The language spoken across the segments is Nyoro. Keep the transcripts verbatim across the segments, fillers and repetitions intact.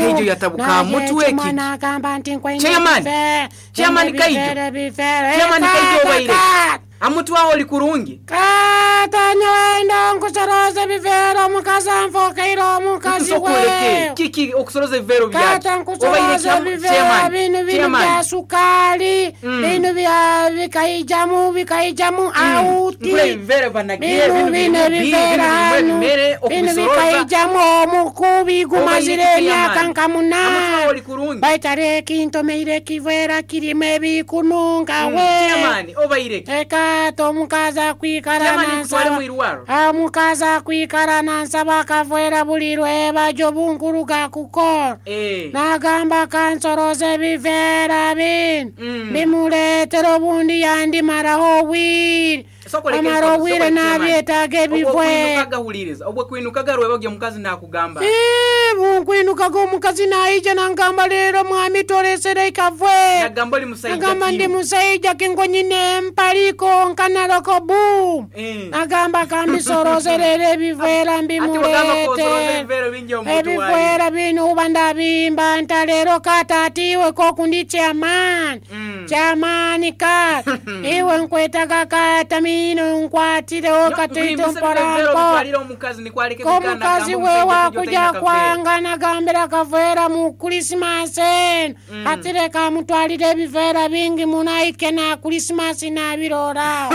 Kaijo yatabuka mutwe ki? Nagamba nti nkwaine Chairman! ebiveera, Chairman Kaijo! ebiveera, ebiveera. Chairman Kaijo obaire Kata, amutwaho oli kurungi. Kata nyowe nkusoroza ebiveera, omukazi anfokeire omukazi Nsokoleke we. Kiki okusoroza ebiveera byaki? Kata Obaire nkusoroza chairman- ebiveera chairman, bino bino chairman. bya sukaali, Mm. bino bya bikaijamu bikaijamu auti. Nkula ebiveera banagiye Bino bino bino birimu bi, ebiveera bino birimu hano ebimere bino okubisoroza. bikaijamu omukubi gumazire Obaire emyaka chairman. nka munaana. Amutwaho oli kurungi. Baitare ekintomeire ekiveera kirimu ebikununga Mm, we. Chairman obaire ki? Ekata omukazi akwikara Chairman nkutwale nansaba mu irwaro. omukazi akwikara nansaba akaveera buli lwebajo bunkuruga kukola. Eh. Nagamba kansoroza ebiveera bino Mm. bimuleetera obundi yandimaraho obwire Sokoleke amara sokoleke, obwire chairman. nabyetaaga ebiveera. Obwokwinukaga huliriza, obwokwinukaga rwebagyo omukazi nakugamba. Ee, bunkwinukaga omukazi naija nangamba leero mwami tolesere ikaveera. Nagamba oli musaija Nagamba ndi ki? musaija kingo nyine empaliko nkanaloko boom. Eh. Nagamba kambisorozerere ebiveera Ati wagamba kosoroza mbimuleete. ebiveera bingi omuntu wayi. Ebiveera bino uba ndabimba nta leero kata atiwe kokundi chairman. Mm. Chairman kata iwe nkwetaga kata mino nkwatireho katoito Nkuhimbisa ebiveera mpola mpola. obitwalire omukazi nikwaleke bigana Omukazi agamba we omusajja kujja wakuja otalina kaveera. kwanga nagambira kaveera mu Krisimasi eno Mm. ati leka amutwalire ebiveera bingi munaike na Krisimasi nabirora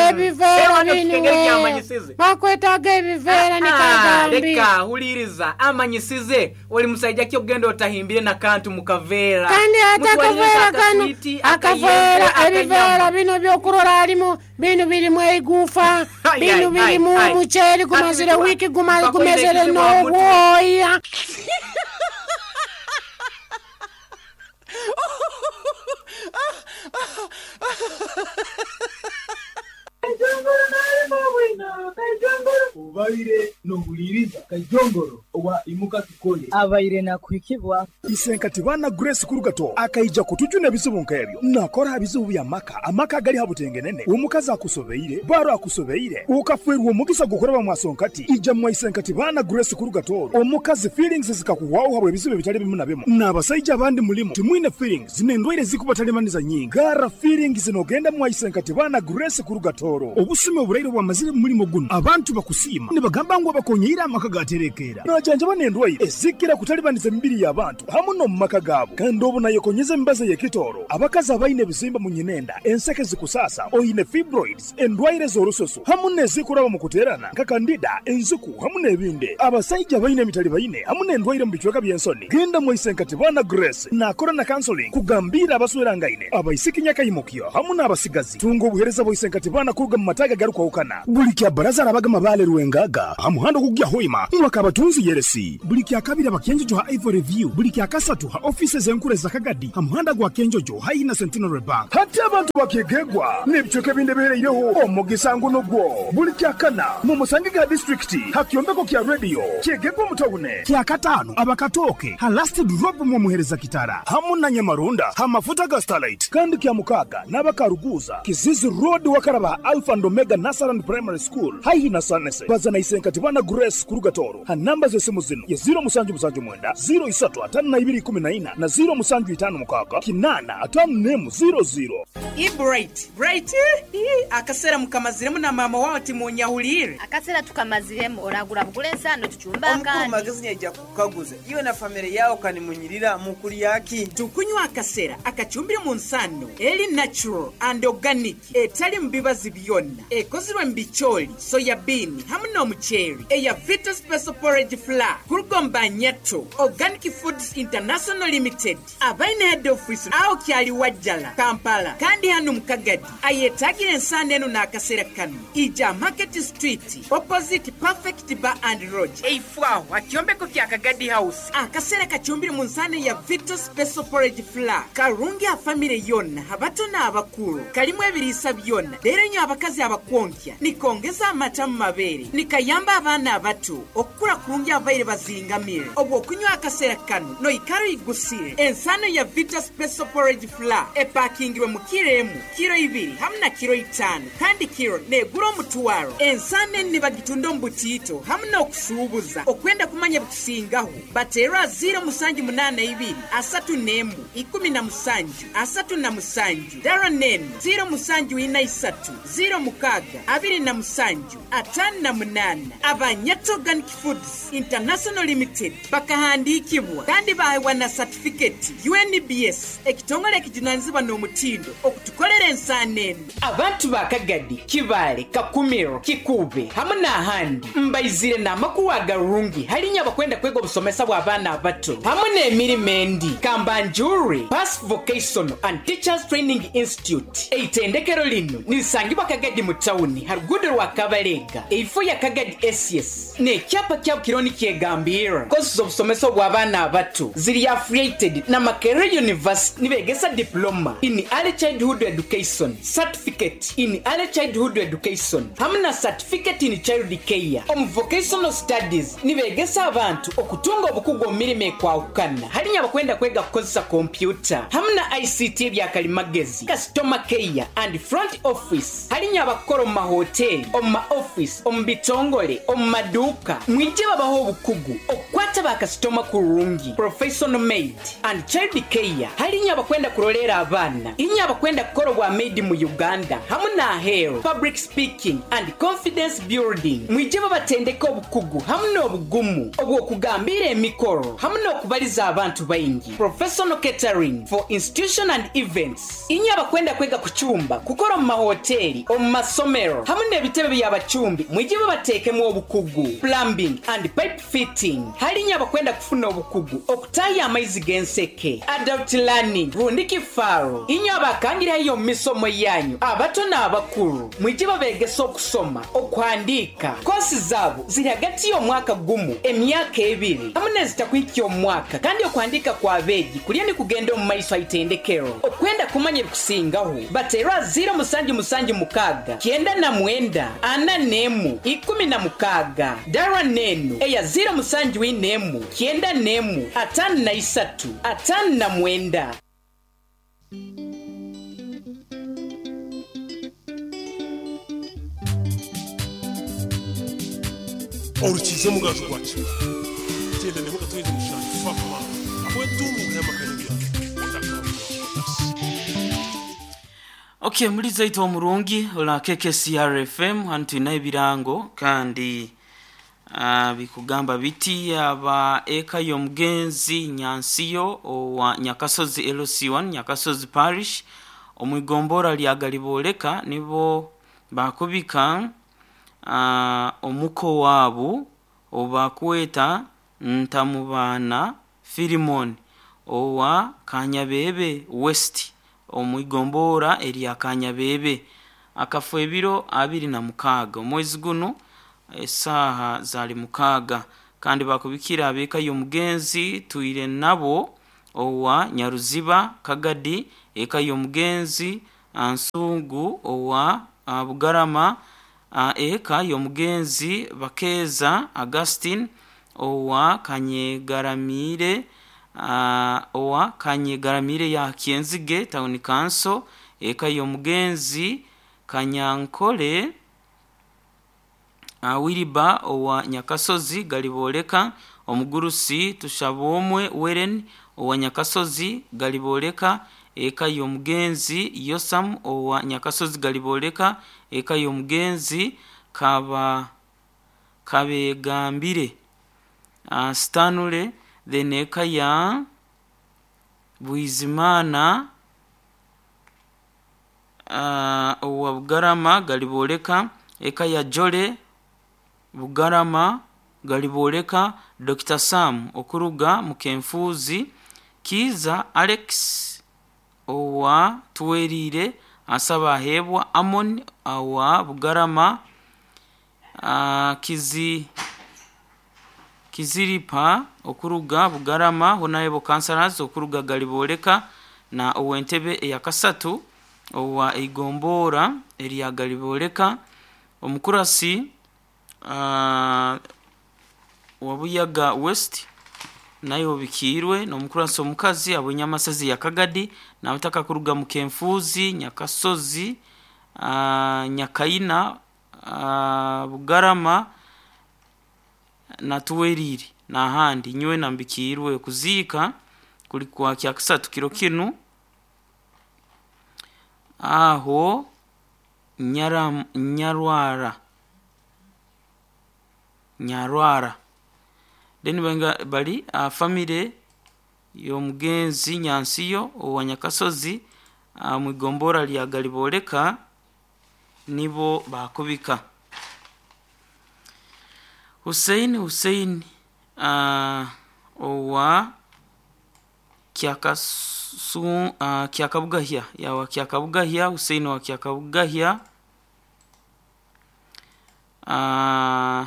ebiveera Chairman bino okukengeri we kyamanyisize. bakwetaga ebiveera Ah, nikagambi. leka huliriza amanyisize oli musaija ki ogenda otahimbire nakantu mu kaveera. Kandi ate Mutwalire akaveera kano akaswiti, akaveera akayembe, ebiveera akanyama. bino byokurora alimu bino birimu eigufa Ai, bino ai, ai, birimu ai. omuceeri gumazire Ati wiiki guma- bakoze gumezere ekizibu amutwe. n'obwoya. Obaire nohuliriza Kajongoro owa imuka tukole. Abaire nakuhikibwa. Isenkati bana Grace Kurugato akaija kutujuna ebizibu nk'ebyo nakora bizibu bya maka amaka gali habutengenene omukazi akusobeire baro akusobeire ukafwerwa omugisa gukoraba mwasonkati ija mwa Isenkati bana Grace Kurugato omukazi feelings zikakuwawo habwe ebizibu ebitali bimu na bimu n'abasajja abandi mulimu timwine feelings n'endwaire zikubatalimaniza nyingi gara feelings zinogenda mwa Isenkati bana Grace Kurugatoro obusime oburaire bwamazire mu mulimo guno abantu bakusiima nibagamba ngu abakonyeire amaka gaterekeera najanjaba n'endwaire ezikira kutalibaniza emibiri y'abantu hamu n'omu maka gaabo kandi obu nayekonyeza emibazi ey'ekitooro abakazi abaine ebizimba mu nyinenda enseke zikusasa oine fibroids endwaire z'orususu hamu n'ezikuraba mu kuteerana nka kandida enzuku hamu n'ebindi abasajja baine emitali baine hamu n'endwaire mu bicweka by'ensoni genda mwisenkati bana Grace nakora na counseling kugambira abaswerangaine abaisiki nyakaimukyo hamu n'abasigazi tunga obuhereza bwaisenkati bana kuruga mu mataga garukwahukana buli kya baraza arabaga mabale rwengaga ha muhanda ogugya hoima mwaka abatunzi yeresi buli kya kabiri abakenjojo ha Ivory View buli kya kasatu ha offices enkuru za Kagadi ha muhanda gwa Kenjojo haina Centenary Bank hati abantu bakegegwa n'ebicweka ebindi ebihereireho omugisa nguno gwo buli kya kana mu musange ga district ha kyombeko kya radio kyegegwa mutawune kya katano abakatoke ha last drop mu muhereza kitara hamu na Nyamarunda ha mafuta ga Starlight kandi kya mukaga n'abakaruguza Kizizi Road wakaraba Alpha and Omega Nasaran Primary School haihi na Sanese bazana Isenkati bana Grace Kurugatoro ha namba z'esimu zino ye ziro musanju musanju mwenda ziro isatu atano na ibiri kumi na ina na ziro musanju itano mukaga kinana atano nemu ziro ziro. I Bright Bright ii, akaseera mukamaziremu na mama wawe timunyahulire. Akaseera tukamaziremu oragura bugura ensano tucumba Omukulu akandi. Magezi nyaija kukaguza iwe na famire yawo kanimunyirira mukulyaki. Tukunywa akaseera akacumbire mu nsano eri natural and organic etali mu bibazi byonna ekozirwe mu bicooli soya bean hamu n'omuceeri eya Vita Special Porridge Flour kurugomba Nyato Organic Foods International Limited abaine head office aho kyali Wajjala Kampala kandi hano mu Kagadi ayetagira ensano eno n'akaseera kano ija Market Street opposite Perfect Bar and Lodge eifwaho akyombeko kya Kagadi House. Akaseera kacumbire mu nsano ya Vita Special Porridge Flour karungi afamire yonna abato n'abakulu kalimu ebiriisa byonna leero nyo abakazi abakwonkya nikongeza amata mu mabeere nikayamba abaana abato okukula kurungi. babaire bazingamire obw'okunywa akaseera kano noikara oigusire. Ensano ya Vita Special Porridge Flour epakingirwe mu kiro emu, kiro ibiri hamu na kiro itaano, kandi kiro negura omutwaro. Ensano eni nibagitunda omu butiito hamu n'okusuubuza. Okwenda kumanya bikusingaho bateerwa ziro musanju munaana ibiri asatu n'emu ikumi na musanju asatu na musanju dara nenu ziro musanju ina isatu ziro mukaaga abiri na musanju ataano na munaana. Abanyato Organic Foods International Limited bakahandiikibwa kandi baheebwa na satifiketi U N B S ekitongole ekijunanizibwa n'omutindo okutukolera ensaano eno. Abantu ba Kagadi, Kibaale, Kakumiro, Kikuube hamu n'ahandi mbaizire n'amakuru agarungi halinya abakwenda kwega obusomesa bw'abaana abato hamu n'emirimo endi. Kambanjure Pass Vocational and Teachers Training Institute eitendekero lino nirisangibwa Kagadi mu tawuni ha ruguudo rwa Kabalega eifo ya Kagadi S S n'ekyapa kyabo kiriho nikyegambira. Kosi z'obusomesa bw'abaana abato ziri affiliated na Makerere University nibegesa diploma in early childhood education, certificate in early childhood education hamu na certificate in child care. Omu vocational studies nibegesa abantu okutunga obukugu omu mirimo ekwahukana halinya abakwenda kwega kukozesa kompyuta hamu na I C T ebyakalimagezi, customer care and front office. Halinya abakora omu mahoteli, omu ma office, omu bitongole, omu maduuka. Mwije babaho obukugu okukwata bakasitoma kurungi, professional maid and child care. Halinya abakwenda kurolera abaana, inya abakwenda kukora obwa maid mu Uganda hamu n'aheeru, public speaking and confidence building. Mwije babatendeka obukugu hamu n'obugumu obw'okugambira emikoro hamu n'okubaliza abantu baingi, professional catering for institution and events. Inya abakwenda kwega kucumba, kukora mu mahoteli, omu masomero hamu n'ebitebe by'abacumbi. Mwije babateekemu obukugu, plumbing and pipe fitting. Halinya abakwenda kufuna obukugu okutaya amaizi g'enseke, adult learning rundi kifaaro. Inya abakangirayo mu misomo yanyu abato n'abakuru. Mwije babegesa okusoma, okuhandiika. Kosi zaabo ziri hagati y'omwaka gumu emyaka ebiri hamu n'ezitakuhikya omwaka, kandi okuhandiika kw'abeegi kulya nikugenda omu maiso aitendekero. Okwenda kumanya ebikusingaho bateerwa ziro musanju musanju mukaaga kyenda na mwenda ana n'emu ikumi na mukaaga dara nenu eya ziro musanju ina emu kyenda n'emu ataano na isatu ataano na mwenda. Orukize mugaju gwakira tenda ne mukatweze mushanju fakma abwetungu yamakanyibya. Okay, muri zaito omurungi ola K K C R F M hanu tulina ebirango kandi uh, bikugamba biti aba eka y'omugenzi Nyansiyo owa Nyakasozi L C one Nyakasozi Parish omwigombora lya Galiboleka nibo bakubika uh, omuko wabu obakweta Ntamubana Filimon owa Kanyabebe West omwigombora erya Kanyabebe akafa ebiro abiri na mukaaga omwezi guno esaha zali mukaaga. Kandi bakubikira abeka y'omugenzi tuire nabo owa Nyaruziba Kagadi, eka y'omugenzi Ansungu owa Bugarama, eka y'omugenzi Bakeza Augustine owa Kanyegaramire Uh, owa Kanyegaramire ya Kienzige Town Council, eka y'omugenzi Kanyankole uh, Wiriba owa Nyakasozi Galiboleka, omugurusi Tushabomwe Weren owa Nyakasozi Galiboleka, eka y'omugenzi Yosam owa Nyakasozi Galiboleka, eka y'omugenzi Kaba Kabegambire uh, Stanley, then eka ya Bwizimana uh, owa Bugarama Galiboleka, eka ya Jole Bugarama Galiboleka, Doctor Sam okuruga Mukenfuzi, Kiza Alex owa Tuwerire asaba ahebwa Amon owa Bugarama, uh, Kizi Kiziripa okuruga Bugarama, Honorable Councillors okuruga Galiboleka, na owentebe eyakasatu owa Igombora erya Galiboleka, omukurasi uh, Wabuyaga West naye obikiirwe n'omukurasi omukazi ab'enyamasazi ya Kagadi n'abataka kuruga mu Kenfuzi Nyakasozi uh, Nyakaina uh, Bugarama na Tuweriri n'ahandi nyowe nambikiirwe kuziika kuli kwa kyakasatu kiro kinu aho nyara nyarwara nyarwara then benga bali uh, family y'omugenzi Nyansiyo owa Nyakasozi uh, mwigombora lya Galiboleka nibo bakubika Hussein Hussein uh, owa Kyakasu uh, Kyakabugahya yawa Kyakabugahya Hussein wa Kyakabugahya uh,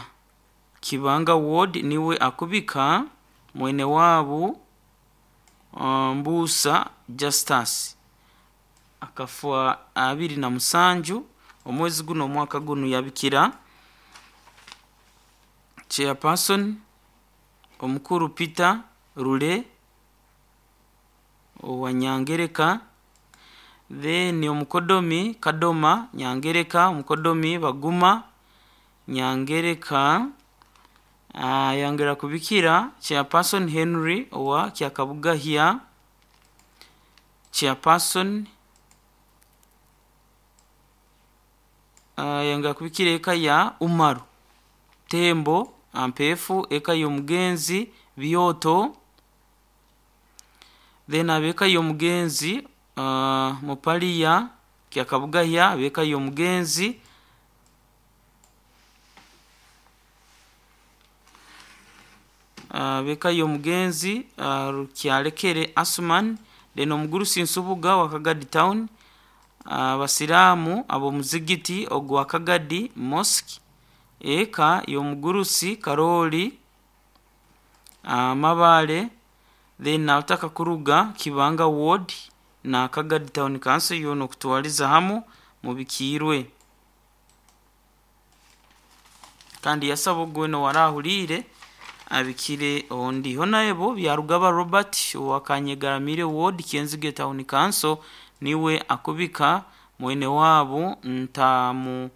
Kibanga Ward niwe akubika mwene wabu uh, Mbusa Justus akafua abiri na musanju omwezi guno omwaka guno yabikira chairperson omukuru Peter Rule owa Nyangereka then omukodomi Kadoma Nyangereka omukodomi Baguma Nyangereka uh, yangera kubikira chairperson Henry owa Kyakabugahya chairperson uh, yangera kubikira eka ya Umaru Tembo Ampefu eka y'omugenzi Bioto then abeka y'omugenzi uh, Mupaliya Kyakabugahya abeka y'omugenzi abeka uh, y'omugenzi uh, Rukyalekere Asman then omugurusi Nsubuga wa Kagadi Town abasiraamu uh, ab'omuzigiti ogwa Kagadi Mosque eka y'omugurusi Karoli uh, Mabale then nataka kuruga Kibanga Ward na Kagadi Town Council yono kutwaliza hamu mubikiirwe kandi yasaba ogweno warahulire abikire ondi honarebo Byarugaba Robert wa Kanyegaramire Ward Kenzige Town Council niwe akubika mwene wabo ntamu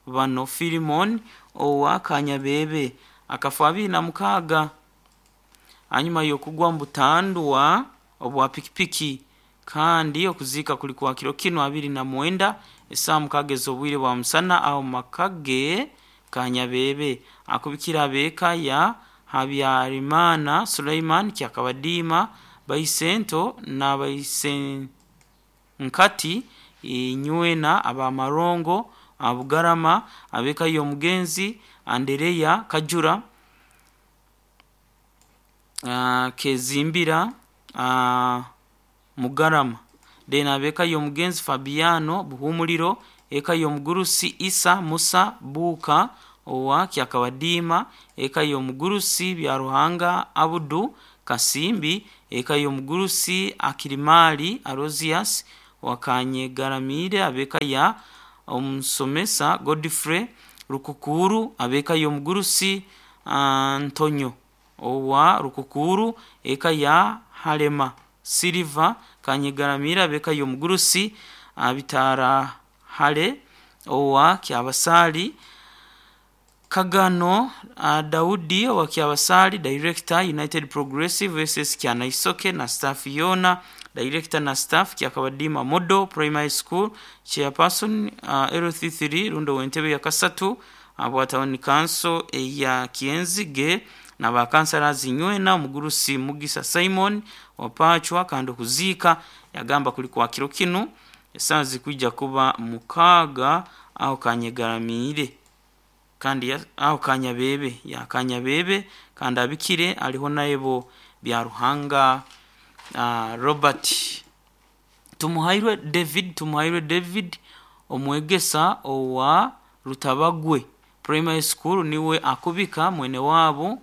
bano Filimon owa Kanyabebe akafa abiri na mukaga hanyuma yokugwa mbutandwa obwa pikipiki kandi okuzika kuli kwa kiro kino abiri na mwenda esaa mukageza obwire bwa musana aho makage Kanyabebe akubikira abeka ya Habyarimana Suleiman Kyakabadima Baisento na Baisenkati Inywena abamarongo Abugarama abeka y'omugenzi Andereya Kajura uh, Kezimbira uh, Mugarama then abeka y'omugenzi Fabiano Buhumuliro eka y'omugurusi Isa Musa Buka owa Kyakabadima eka y'omugurusi Byaruhanga Abudu Kasimbi eka y'omugurusi Akirimali Arosias Wakanyegaramire abeka ya omusomesa Godfrey Rukukuru abeka y'omugurusi Antonio owa Rukukuru eka ya Halema Silva Kanyegaramire abeka y'omugurusi Abitara Hale owa Kyabasali Kagano uh, Daudi wa Kyabasali Director United Progressive S S Kyanaisoke na staff yona Director na staff Kyakabadima Modo Primary School Chairperson uh, L C three Rundo Wentebe ya Kasatu abwa Town Council ya Kienzige na bakansala zinywena omugurusi Mugisa Simon wapachwa kando kuzika yagamba kuli kwa kiro kinu esanzi kujja kuba mukaga aho Kanyegaramire kandi aho Kanyabebe ya Kanyabebe kandi abikire aliho naebo Byaruhanga uh, Robert Tumuhairwe David Tumuhairwe David omwegesa owa Rutabagwe Primary School niwe akubika mwene wabo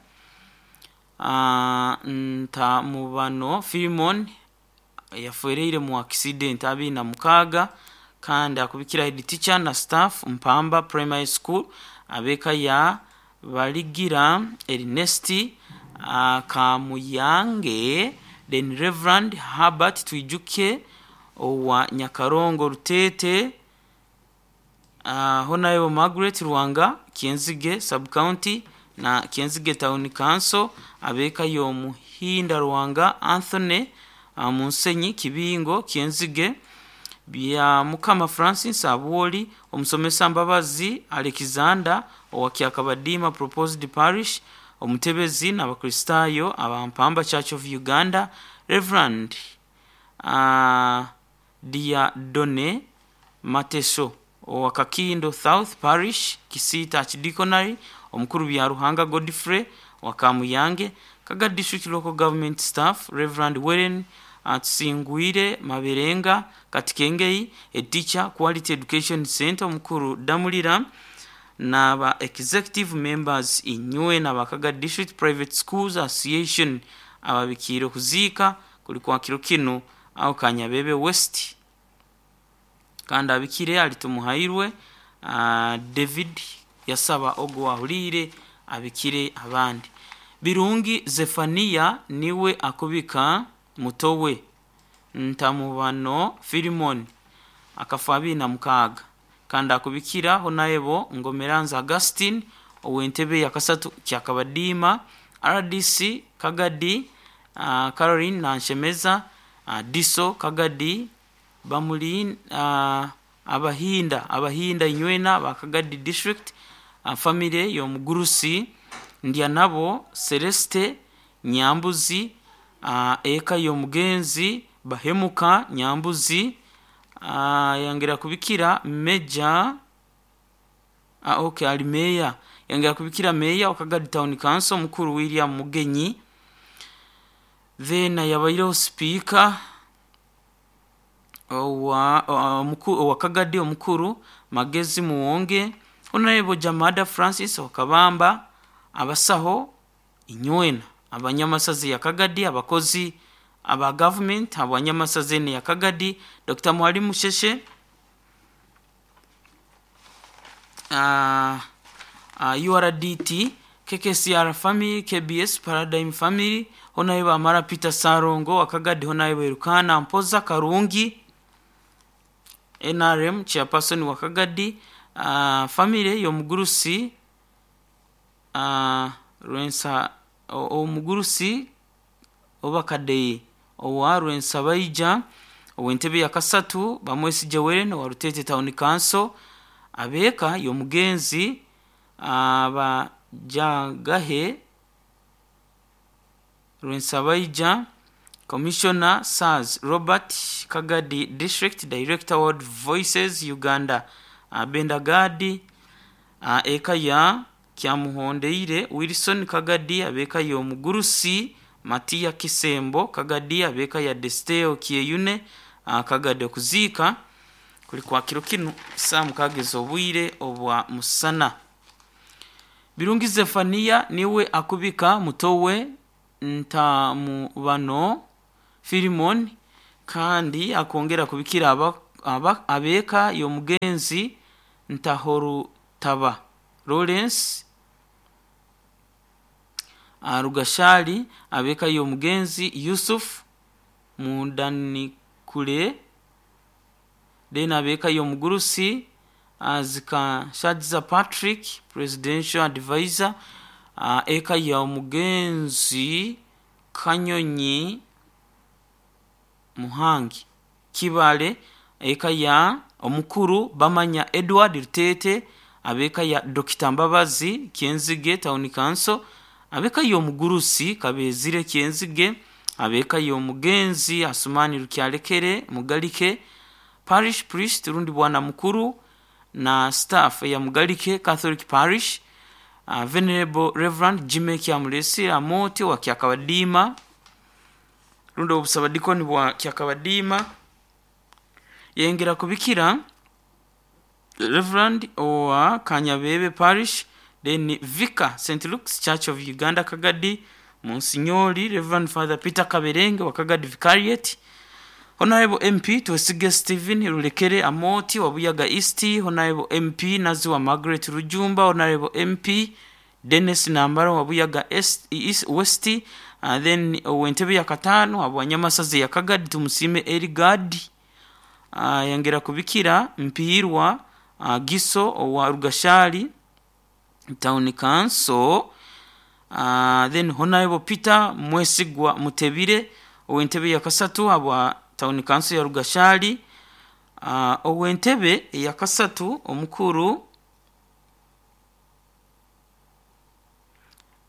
uh, Ntamubano Filimon yafereire mu accident abiri na mukaga kandi akubikira head teacher na staff Mpamba Primary School abeka ya Baligira Ernest uh, Kamuyange, then Reverend Herbert Twijuke owa Nyakarongo Rutete, uh, Honorable Margaret Ruwanga Kienzige sub county na Kienzige Town Council, abeka y'Omuhinda Ruwanga Anthony uh, Munsenyi Kibingo Kienzige, bya Mukama Francis Abuoli, omusomesa Mbabazi Alexander owa Kyakabadima Proposed Parish, omutebezi n'Abakristaayo Abampamba Church of Uganda, Reverend uh, Diadone Mateso owa Kakindo South Parish, Kisiita Archdeaconry, omukuru bya Ruhanga Godfrey wa Kamuyange, Kaga District Local Government Staff, Reverend Warren Atsingwire Maberenga Katikengei, a teacher Quality Education Center, omukuru Damulira n'aba executive members inywe n'abakaga District Private Schools Association ababikiire okuziika kuli kwa kiro kinu aho Kanyabebe West. Kandi abikire alitumuhairwe uh, David yasaba ogo ahuliire abikire abandi. Birungi Zefania niwe akubika mutowe Ntamubano Filimon akafa abiri na mukaaga, kandi akubikira Honorable Ngomeranza Augustine ow'entebe ya kasatu Kyakabadiima, R D C Kagadi, uh, Caroline Nanshemeza, uh, Diso Kagadi, Bamuli uh, Abahinda Abahinda Inywena ba Kagadi District, uh, family y'Omugurusi Ndyanabo Celeste Nyambuzi, uh, eka y'Omugenzi Bahemuka Nyambuzi, uh, yongera kubikira Meja uh, okay ali meya, yongera kubikira meya wa Kagadi Town Council mukuru William Mugenyi, then yabaireho speaker owa owa Kagadi omukuru Magezi Muwonge, Honorable Jamada Francis Okabamba, abasaho inywena abanyamasazi ya Kagadi, abakozi aba government abanyamasazi ya Kagadi, Doctor Mwalimu Sheshe, uh, uh, U R D T, K K C R family, K B S Paradigm family, Honorable Amara Peter Sarongo wa Kagadi, Honorable Rukana Mpoza Karungi, N R M chairperson wa Kagadi, uh, family y'Omugurusi uh, Rwensa Omugurusi Obakadei owa Rwensabaija ow'entebe ya kasatu Bamwesije Weren wa Rutete Town Council, abeka y'Omugenzi Abajagahe Rwensabaija, Commissioner Sars Robert Kagadi District Director World Voices Uganda, Bendagadi eka ya Kyamuhondeire Wilson Kagadi, abeka y'Omugurusi Matia Kisembo Kagadi, abeka ya Desteo Kieyune Kagadi. Okuziika kuli kwa kiro kinu saa mukaaga obwire obwa musana. Birungi Zefania niwe akubika mutowe Ntamubano Filimon, kandi akongera kubikira aba, aba, abeka y'Omugenzi Ntahorutaba Lawrence Rugashali, abeka y'Omugenzi Yusuf Mundanikule, then abeka y'Omugurusi Azika Shadza Patrick Presidential Advisor, eka y'Omugenzi Kanyonyi Muhangi Kibale, eka ya Omukuru Bamanya Edward Rutete, abeka ya Dokita Mbabazi Kienzige Town Council, abeka y'Omugurusi Kabezire Kienzige, abeka y'Omugenzi Asumani Rukyalekere Mugalike Parish Priest rundi bwana mukuru na staff ya Mugalike Catholic Parish, uh, Venerable Reverend Jimmy Kyamulesi Amoti wa Kyakabadima rundi obusabadikoni bwa Kyakabadima, yengera kubikira Reverend owa Kanyabebe Parish, then Vicar Saint Luke's Church of Uganda Kagadi, Monsignori Reverend Father Peter Kaberenge wa Kagadi Vicariate, Honorable M P Twesige Stephen Rulekere Amoti wa Buyaga East, Honorable M P Naziwa Margaret Rujumba, Honorable M P Dennis Nambara wa Buyaga Est, East, West uh, then ow'entebe ya kataano abwanyamasazi ya Kagadi Tumusime Erigadi uh, yongera kubikira Mpiirwa uh, Giso owa Rugashali Town Council uh, then Honorable Peter Mwesigwa Mutebire ow'entebe ya kasatu abwa Town Council ya Rugashali uh, ow'entebe ya kasatu omukuru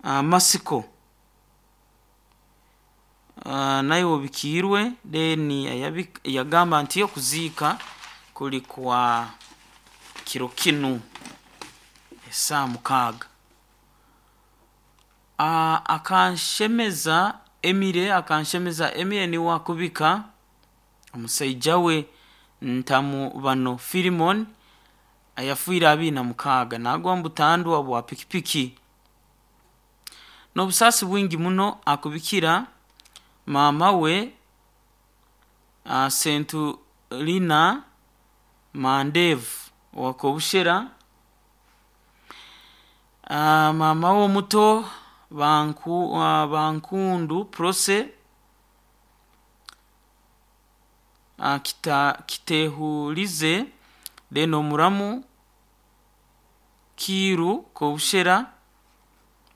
uh, Masiko uh, naye obikiirwe then yagamba nti okuziika kuli kwa kiro kinu esaa mukaaga. Uh, akanshemeza Emire akanshemeza Emire niwe akubika omusaija we Ntamu bano Filimon ayafiire abiri na mukaaga nagwa mubutandwa bwa pikipiki n'obusaasi bwingi muno akubikira maama we uh, Sentulina Mandevu owakobushera uh, maama we omuto Banku, uh, Bankundu Prose uh, kita, Kitehulize then omuramu Kiru Kobushera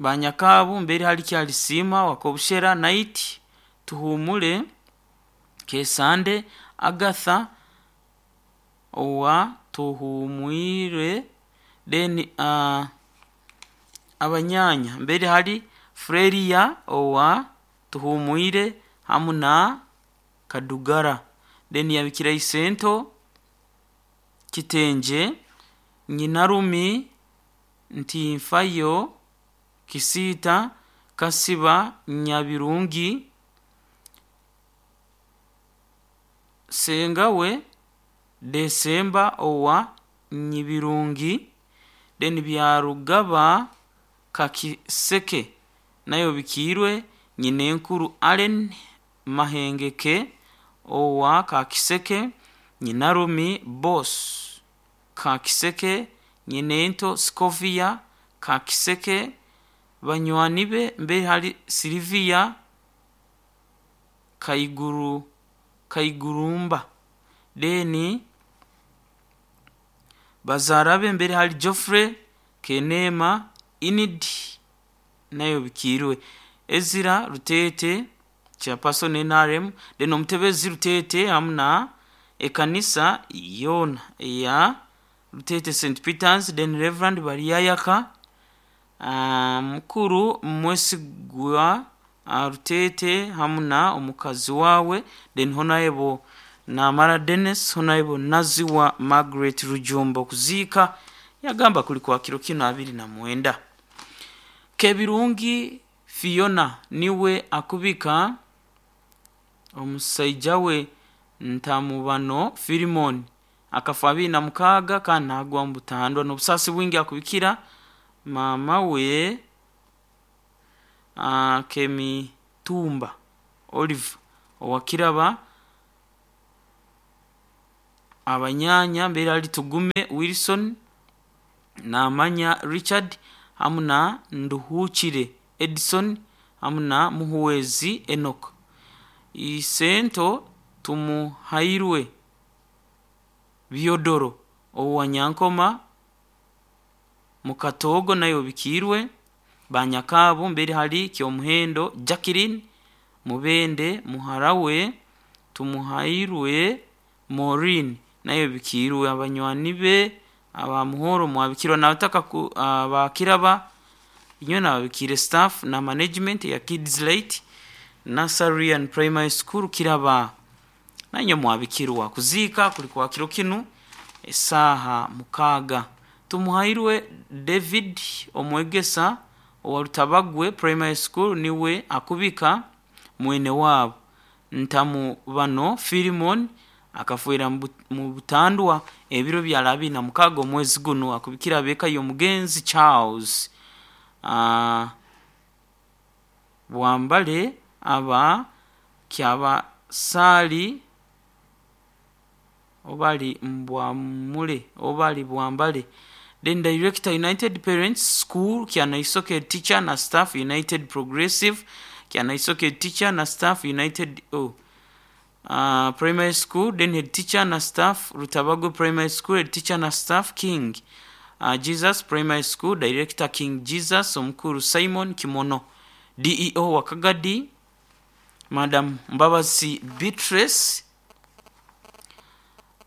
Banyakabu mbere hali Kyalisima wakobushera Night Tuhumule Kesande Agatha owa Tuhumwire then uh, abanyanya mbere hali Freria owa Tuhumwire hamu na Kadugara then yabikira Isento Kitenje Nyinarumi Ntinfayo Kisita Kasiba Nyabirungi Sengawe Desemba owa Nyibirungi then Byarugaba Kakiseke nayo bikiirwe Nyinenkuru Allen Mahengeke owa Kakiseke Nyinarumi Boss Kakiseke Nyinento Scovia Kakiseke banywani be mbere hali Silvia Kaiguru Kaigurumba deni bazara be mbere hali Geoffrey Kenema Inid nayo bikiirwe Ezira Rutete chairperson N R M then omutebezi Rutete hamu na ekanisa yona ya Rutete Saint Peters then Reverend Bariyayaka uh, mukuru Mwesigwa uh, Rutete hamu na omukazi wawe then Honorable Namara Dennis Honorable Naziwa Margaret Rujumbo kuziika yagamba kuli kwa kiro kino abiri na mwenda. Kebirungi Fiona niwe akubika omusaija we Ntamubano Filimon akafa abiri na mukaaga kandi nagwa mu butandwa n'obusaasi bwingi akubikira maama we uh, Kemitumba Olive owakiraba abanyanya mbere ali Tugume Wilson Namanya Richard hamu na Nduhukire Edison hamu na Muhuwezi Enoch Isento Tumuhairwe Biodoro owanyankoma Mukatogo nayo bikiirwe Banyakabu mbere hali Kyomuhendo Jacqueline Mubende Muharawe Tumuhairwe Maureen nayo bikiirwe abanywani be abamuhoro mwabikirwa nabataka abakiraba inywe nababikire staff na management ya Kids Light Nursery and Primary School Kiraba nanyo mwabikirwa kuziika kuli kwa kiro kinu esaha mukaaga. Tumuhairwe David omwegesa owa Rutabagwe Primary School niwe akubika mwene wabo Ntamu bano Filimon akafuira mu butandwa ebiro bya labi na mukaaga omwezi guno akubikira beka y'omugenzi Charles uh, Bwambale aba kyaba sali obali mbwamule obali Bwambale Then Director United Parents School Kyanaisoke teacher na staff United Progressive Kyanaisoke teacher na staff United oh, uh, Primary School. Then head teacher na staff Rutabago Primary School, head teacher na staff King uh, Jesus Primary School, Director King Jesus Omukuru Simon Kimono, D E O Wakagadi Madam Mbabazi Beatrice,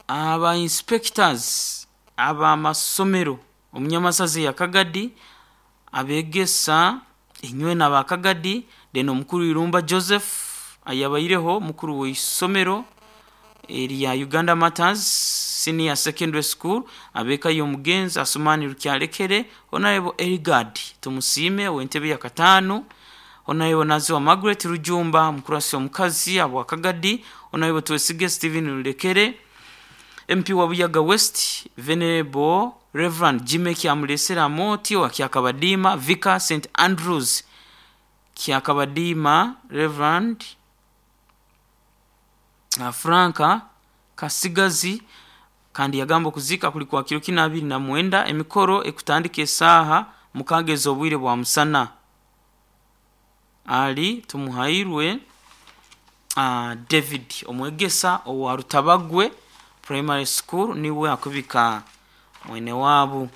aba inspectors abamasomero omunyamasazi ya Kagadi abegesa enywe n'abakagadi. Then omukuru Irumba Joseph ayabaireho mukuru w'isomero erya Uganda Matters Senior Secondary School, abeka y'omugenzi Asumani Rukyalekere, Honorable Eligard Tumusime w'entebe ya katano, Honorable Naziwa Margaret Rujumba mukurasi omukazi abo Kagadi, Honorable Twesige Stephen Rulekere, M P wa Buyaga West Venerable Reverend Jimmy Kyamulesera Moti wa Kyakabadima, Vicar Saint Andrews Kyakabadima, Reverend Franka Kasigazi. Kandi yagamba kuzika kulikuwa kiro kina abiri na mwenda, emikoro ekutandika esaha mukageza obwire bwa musana. Ali tumuhairwe uh, David omwegesa owa Rutabagwe Primary School niwe akubika mwene wabu.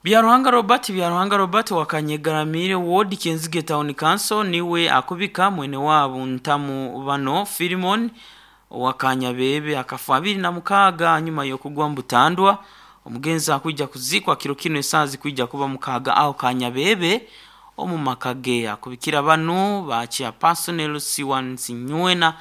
Byaruhanga Robert Byaruhanga Robert wakanyegaramire ward Kenzige Town Council niwe akubika mwene wabu Ntamu bano Filimon wakanyabebe akafa abiri na mukaga nyuma yo kugwa mbutandwa. Omugenzi akujja kuzikwa kiro kino esazi kujja kuba mukaga aho kanyabebe omu makage akubikira bano ba chairperson L C one Sinywena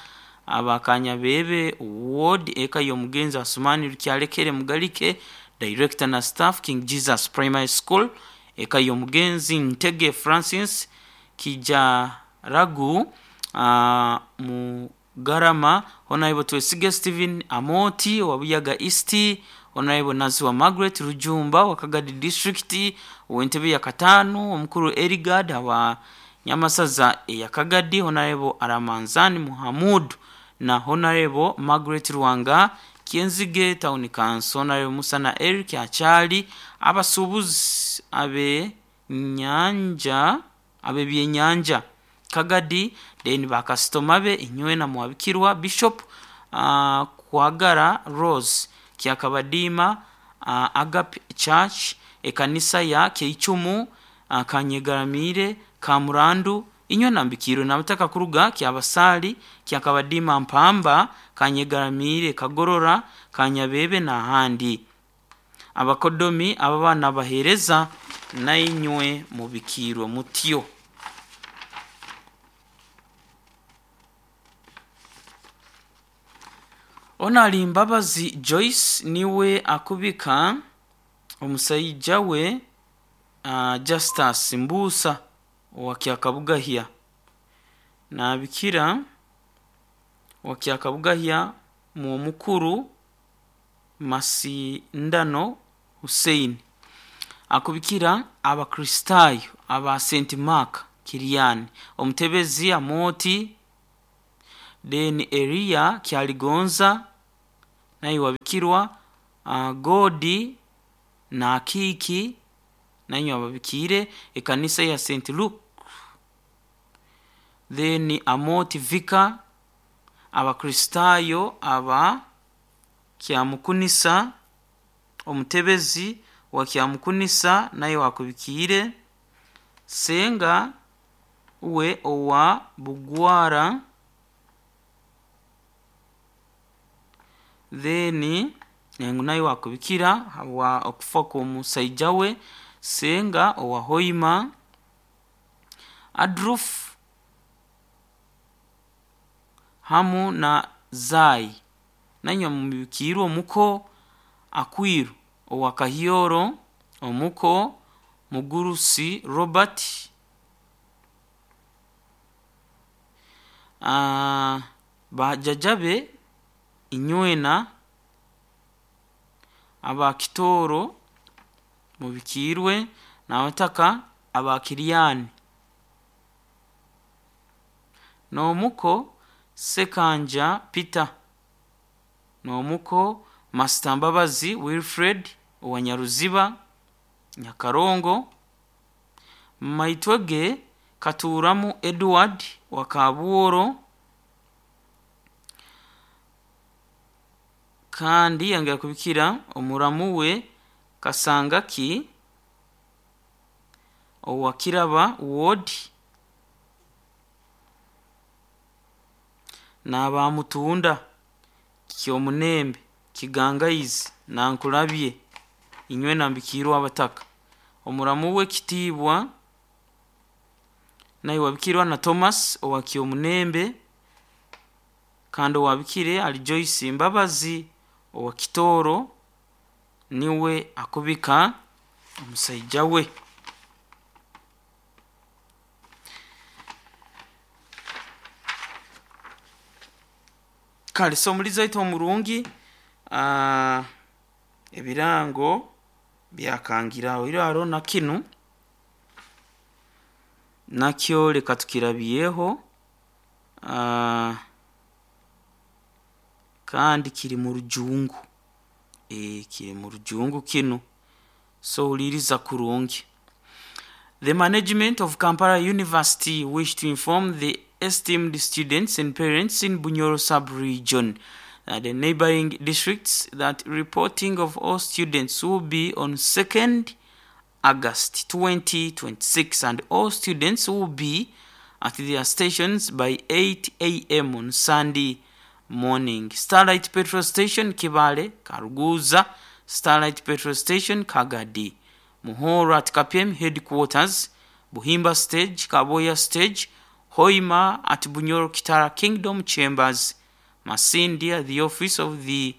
abakanyabebe ward eka y'omugenzi Asumani Rukyalekere Mugalike, Director na staff King Jesus Primary School, eka y'omugenzi Ntege Francis Kijaragu uh, mu Garama, Honorable Twesige Stephen Amoti wa Buyaga East, Honorable Naziwa Margaret Rujumba wa Kagadi District, w'entebe ya katano, omukuru Erigard wa Nyamasaza ya Kagadi, Honorable Aramanzani Muhammad na Honorable Margaret Ruwanga Kienzige Town Council, Honorable Musana Eric Achali, abasubuzi abe nyanja abe byenyanja Kagadi, then bakasitoma be inywe na mwabikirwa Bishop uh, Kwagara Rose Kyakabadima uh, Agape Church ekanisa ya Keichumu uh, Kanyegaramire Kamurandu inywe nambikiro nabataka kuruga Kyabasali Kyakabadima Mpamba Kanyegaramire Kagorora Kanyabebe na handi. Abakodomi ababana bahereza na inywe mubikirwe mutyo. Onali Mbabazi Joyce niwe akubika omusajja we uh, Justus Mbusa wa Kyakabugahya nabikira wa Kyakabugahya mu mukuru Masindano Hussein akubikira abakristayo aba Saint Mark Kiriani omutebezi Amoti then Elia Kyaligonza naye wabikirwa uh, Godi na Kiki naye wabikire ekanisa ya Saint Luke then Amoti Vika abakristayo aba Kyamukunisa omutebezi wa Kyamukunisa naye wakubikire Senga we owa Bugwara then naye wakubikira wa okufa kw'omusajja we Senga owa Hoima Adruf hamu na Zai nanywa mubikirwa omuko Akwiru owa Kahioro omuko Mugurusi Robert uh, bajajabe inywena abakitoro mubikirwe nabataka abakiriani nomuko Sekanja Peter nomuko Master Mbabazi Wilfred owa Nyaruziba Nyakarongo. Maitwege Katuramu Edward wa Kabuoro. Kandi yongera kubikira omuramu we Kasangaki owa Kiraba Ward n'abamutunda Kyomunembe Kigangaizi Nankulabye inywe nambikirwa abataka. Omuramu we Kitiibwa naye wabikirwa na Thomas owa Kyomunembe, kandi owabikire ali Joyce Mbabazi owa Kitoro, niwe akubika omusaija we. Kale so omulizi waitu omurungi, uh, ebirango byakangiraho iraro na kinu nakyo leka tukirabyeho, uh, kandi kiri mu rujungu, e, kiri mu rujungu kinu, so uliriza kurungi. The management of Kampala University wish to inform the esteemed students and parents in Bunyoro sub-region and the neighboring districts that reporting of all students will be on second August twenty twenty-six, and all students will be at their stations by eight A M on Sunday morning. Starlight Petrol Station, Kibale, Karuguza, Starlight Petrol Station, Kagadi, Muhoro at Kapiem Headquarters, Buhimba Stage, Kaboya Stage, Hoima at Bunyoro Kitara Kingdom Chambers, Masindi at the office of the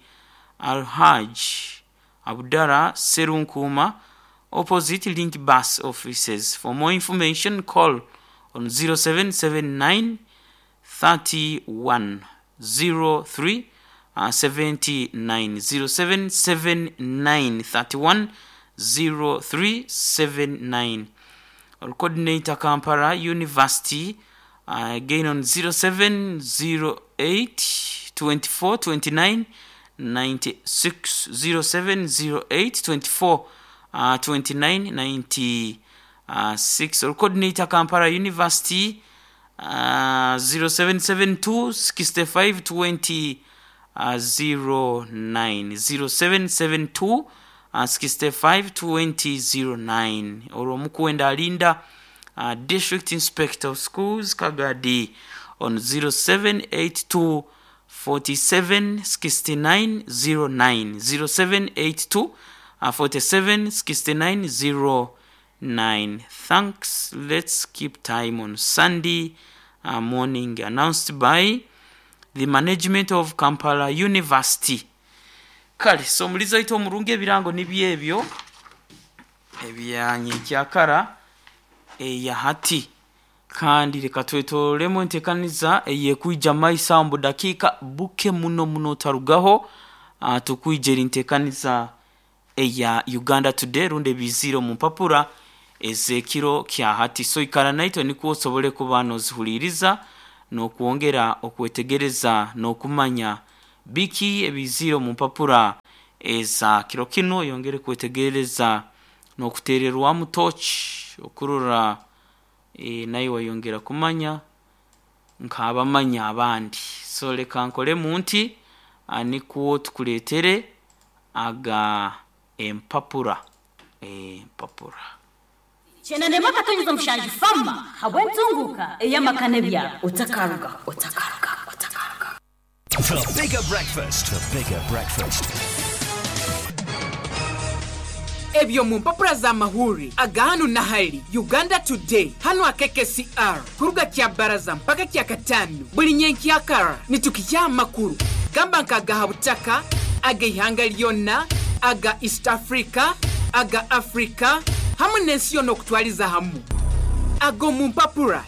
Alhaj Abdara Serunkuma, opposite Link Bus offices. For more information, call on zero seven seven nine thirty-one zero three seventy-nine, zero seven seven nine thirty-one zero three seven nine. Or coordinator Kampala University, uh, again on zero seven zero eight twenty-four twenty-nine ninety-six, zero seven zero eight twenty-four twenty-nine ninety-six. Or coordinator Kampala University, uh, zero seven seven two sixty-five twenty zero nine, zero seven seven two sixty-five twenty zero nine. Or Mukwenda Alinda, uh, District Inspector of Schools Kagadi, on zero seven eight two forty-seven sixty-nine zero nine, zero seven eight two forty-seven sixty-nine zero nine. Thanks. Let's keep time on Sunday uh, morning. Announced by the management of Kampala University. Kale so mulizo ito omurungi ebirango nibyebyo ebyanyekyakara eya hati, kandi reka twetolemo entekaniza eyekuija maisa mbu dakika buke muno muno tarugaho, uh, tukwijera entekaniza eya Uganda Today runde biziro mu mpapura ezekiro kya hati. So ikara naitwe nikuo osobole kuba nozihuliriza n'okwongera okwetegereza n'okumanya biki ebiziro mu mpapura eza kiro kino, yongere kwetegereza n'okutererwamu torch okurora, e, naye wayongera kumanya nk'abamanya abandi. So leka nkole munti anikuo tukuletere aga empapura empapura chenende maka mushanji fama habwentunguka eyamakane bya otakaruga otakaruga otakaruga. The bigger breakfast, the bigger breakfast. Ebyo mu mpapura za mahuri agahanu na hali Uganda Today hano akeke C R kuruga kya baraza mpaka kya katano buli nyenkyakara nitukijya makuru gamba nkagaha butaka aga ihanga lyonna aga East Africa aga Africa hamwe n'ensi yonna okutwaliza hamu. Ago mu mpapura